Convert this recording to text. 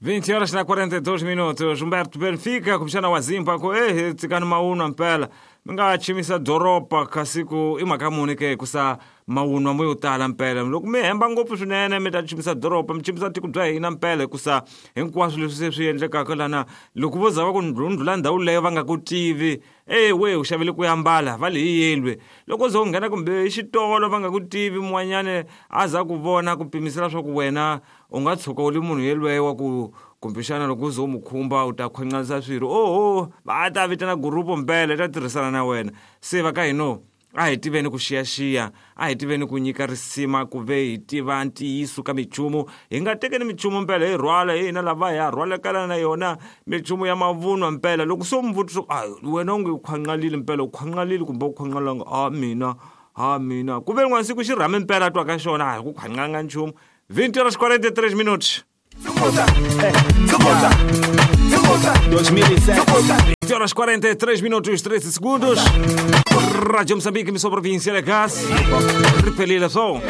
20 horas na 42 minutos. Humberto Benfica kumbexana wa Zimba ku eh tsikani mawunwa mpela mi nga chimisa doroba kasi ku i mhaka muni ke hikusa mawunwa mo yo tala mpela loko mi hemba ngopfu swinene mi ta chimisa doroba mi chimisa tiko bya hina mpela hikusa hinkwaswo leswi se swi endlekaka lana loko vo za va ku ndlhundlhula ndhawu leyo va nga ku tivi e we u xavele ku yambala va le hi yelwe loko ze u nghena kumbe xitolo va nga ku tivi mun'wanyana a za ku vona ku pimisela swa ku wena u nga tshuka u li munhu yelweyo wa ku kumbexana loko u ze u mu khumba u ta khwanqanisa swirho oho va ta vitana gurupu mpela yi ta tirhisana na wena se va ka hino a hi tiveni ku xiyaxiya a hi tiveni ku nyika risima ku ve hi tiva ntiyiso ka minchumu hi nga tekeni minchumu mpela hi rhwala hi hina lava hi ya rhwalekana na yona minchumu ya mavunwa mpela loko se u mi vutisa a wena u nge u khwanqalile mpela u khwanqalile kumbe u khwanqalanga a mina a mina ku ve rin'wana siku xi rhame mpela a twa ka xona a hi ku khwanqanga nchumu 20 horas 43 minutos. 20 horas 43 minutos 13 segundos. Rádio Moçambique, emissão província de Gás. Repelida som.